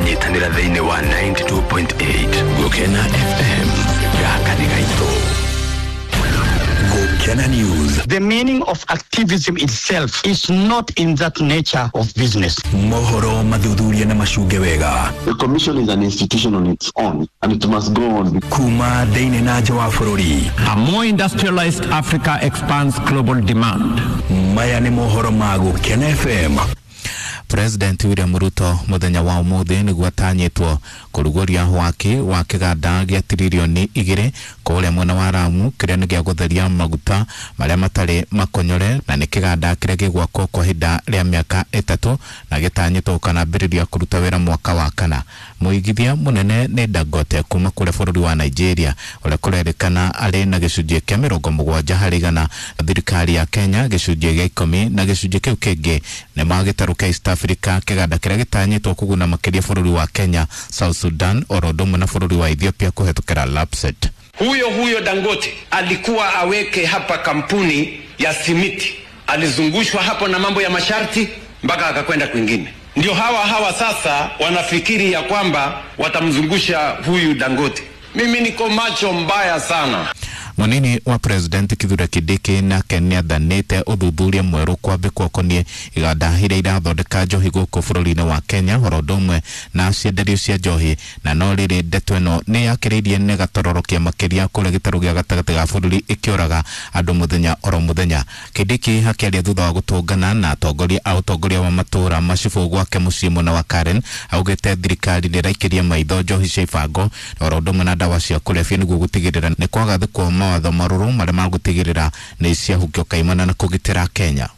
Nyitanĩra thĩinĩ wa 92.8 Gũkena FM. Gaka nĩ gaitũ. Gũkena News. The meaning of activism itself is not in that nature of business. Mohoro mathuthuria na macunge wega. The commission is an institution on its own and it must go on. Kuma thĩinĩ na nja wa bũrũri. A more industrialized Africa expands global demand. Maya nĩ mohoro ma Gũkena FM. President William Ruto muthenya wa umuthi niguo atanyitwo kuruguria waki wa kiganda gia tiririoni 2 kuria mwena wa Lamu kiria ni gia gutheria maguta maria matari makonyore na ni kiganda kiria gigwakwo kwa ihinda ria miaka 3 na gitanyitwo gukanambiriria kuruta wira mwaka wa kana. Muigithia munene ni Dangote kuma kuria bururi wa Nigeria uria kurerikana ari na gicunjĩ kia 70 harĩ igana, thirikari ya Kenya gicunjĩ gia 10 na gicunjĩ kiu kingi ni magĩtarũ kia East Africa kiganda kiria gitanyitwo kuguna makiria bururi wa Kenya, South Sudan oro ũndũ ũmwe na bururi wa Ethiopia kuhetũkĩra LAPSSET. Huyo huyo Dangote alikuwa aweke hapa kampuni ya simiti, alizungushwa hapo na mambo ya masharti mpaka akakwenda kwingine. Ndio hawa hawa sasa wanafikiri ya kwamba watamzungusha huyu Dangote. Mimi niko macho mbaya sana. Munini wa President Kithure Kindiki nake nĩathanĩte ũthuthuria mwerũ kwambĩkwo ũkoniĩ iganda iria irathondeka njohi gũkũ bũrũri-inĩ wa Kenya oro ũndũ ũmwe na cienderio cia njohi, na no rĩrĩ ndeto ĩno nĩyakĩrĩirie nĩ gatororokia makĩria kũrĩa gĩtarũ gĩa gatagatĩ ga bũrũri ĩkĩũraga andũ mũthenya oro mũthenya. Kindiki akĩaria thutha wa gũtũngana na atongoria a ũtongoria wa matũũra macibũ gwake mũciĩ mwena wa Karen augĩte thirikari nĩĩraikĩria maitho njohi cia ibango oro ũndũ ũmwe na ndawa cia kũrebia nĩguo gũtigĩrĩra nĩ kwagathĩkwo mawatho marũrũ marĩa magũtigĩrĩra nĩ ciahukio kaimana na kũgitĩra Kenya.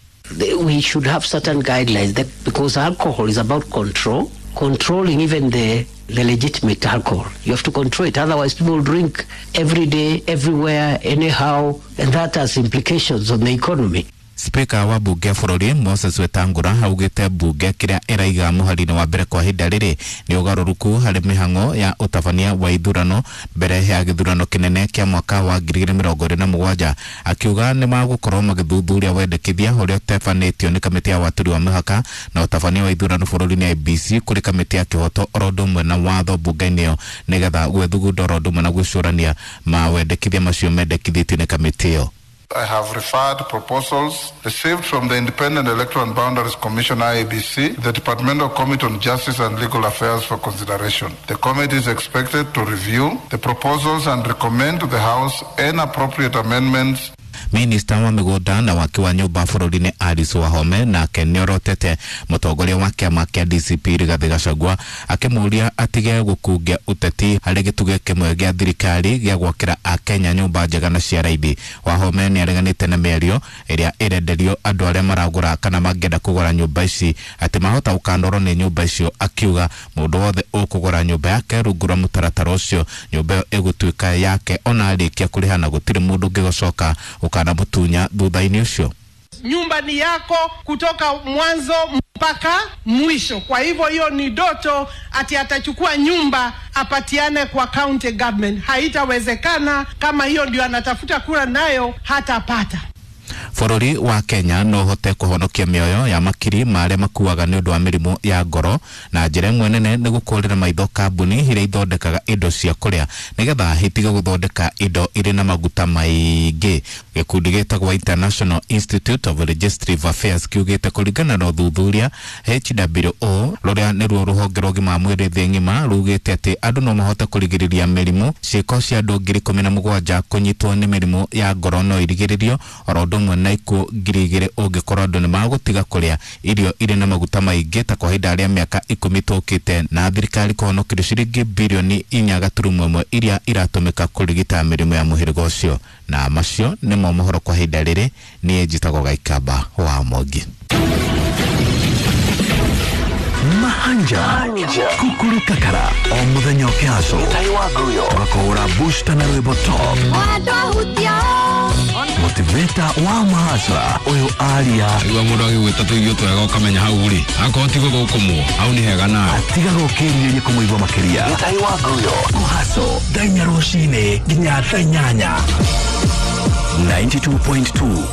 We should have certain guidelines that, because alcohol is about control, controlling even the legitimate alcohol. You have to control it, otherwise people drink every day, everywhere, anyhow, and that has implications on the economy. Speaker wa bunge bũrũri Moses Wetangula augĩte bunge kĩrĩa ĩraiga mũhari-inĩ wa mbere kwa ihinda rĩrĩ nĩ ũgarũrũku harĩ mĩhang'o ya ũtabania wa ithurano mbere ya gĩthurano kĩnene kĩa mwaka wa 2027, akiuga nĩ magũkorwo magĩthuthuria wendekithia ũrĩa ũtabanĩtio nĩ kamĩtĩ ya watũri wa mĩhaka na ũtabania wa ithurano bũrũri-inĩ IEBC kũrĩ kamĩtĩ ya kĩhoto oro ũndũ ũmwe na watho bunge-inĩ ĩyo nĩgetha gwĩthugunda oro ũndũ ũmwe na gwĩcũrania mawendekithia macio mendekithĩtio nĩ kamĩtĩ ĩyo. I have referred proposals received from the Independent Electoral and Boundaries Commission IEBC, the Departmental Committee on Justice and Legal Affairs for consideration. The committee is expected to review the proposals and recommend to the House any appropriate amendments. Minista wa mĩgũnda na waki wa nyũmba bũrũri-inĩ Alice Wahome nake nĩorotete mũtongoria wa kĩama kĩa DCP Rigathĩ Gachagua akĩmũũria atige gũkungia ũteti harĩ gĩtugĩ kĩmwe gĩa thirikari gĩa gwakĩra Akenya nyũmba njega na cia raithi. Wahome nĩareganĩte na mĩario ĩrĩa ĩrenderio andũ arĩa maragũra kana mangĩenda kũgũra nyũmba ici atĩ mahota gũkanorwo nĩ nyũmba icio, akiuga mũndũ wothe ũkũgũra nyũmba yake rungu rwa mũtaratara ũcio nyũmba ĩyo ĩgũtuĩka yake ona arĩkia kũrĩha na gũtirĩ mũndũ ũngĩgũcoka ukana mutunya thutha-inĩ ũcio. Nyumba ni yako kutoka mwanzo mpaka mwisho. Kwa hivyo hiyo ni doto ati atachukua nyumba apatiane kwa county government. Haitawezekana. Kama hiyo ndio anatafuta kura nayo hatapata. Bũrũri wa Kenya no ũhote kũhonokia mĩoyo ya makiri ma arĩa makuaga nĩ ũndũ wa mĩrimũ ya ngoro na njĩra ĩmwe nene nĩ gũkũrĩra maitho kambuni iria ithondekaga indo cia kũrĩa nĩgetha itige gũthondeka indo irĩ na maguta maingĩ. Gĩkundi gĩtagwo International Institute of Legislative Affairs kiugĩte kũringana na ũthuthuria HWO rũrĩa nĩruo rũhonge rwa ũgima wa mwĩrĩ thĩ ng'ima rugĩte atĩ andũ no mahote kũrigĩrĩria mĩrimũ. Ciĩko cia andũ 17,000 kũnyitwo nĩ mĩrimũ ya ngoro no irigĩrĩrio oro ũndũ ũmwe na ikuũ 2,000 ũngĩkorwo andũ nĩmagũtiga kũrĩa irio irĩ na maguta maingĩ ta kwa ihinda rĩa mĩaka 10 tũkĩte, na thirikari kũhonokerio ciringi birioni 4.1 iria iratũmĩka kũrigita mĩrimũ ya mũhĩrĩga ũcio. Na macio nĩmo mohoro kwa ihinda rĩrĩ. Niĩ njĩtagwo Gaikamba wa Mwangi. Mahanja Kukuru Kakara o muthenya ũkĩhaco tũgakũhũra booster na rwĩmbo top motivator wa mahasra ũyũ aria igua mũndũ agĩgwĩta tũirio twega ũkamenya hau rĩ akorwo ti gũthũkũmwo hau nĩ hega nawe atiga gũkĩrirĩria kũmũigua makĩria kũhaco thaa inya rũcinĩ nginya thaa 8 92.2.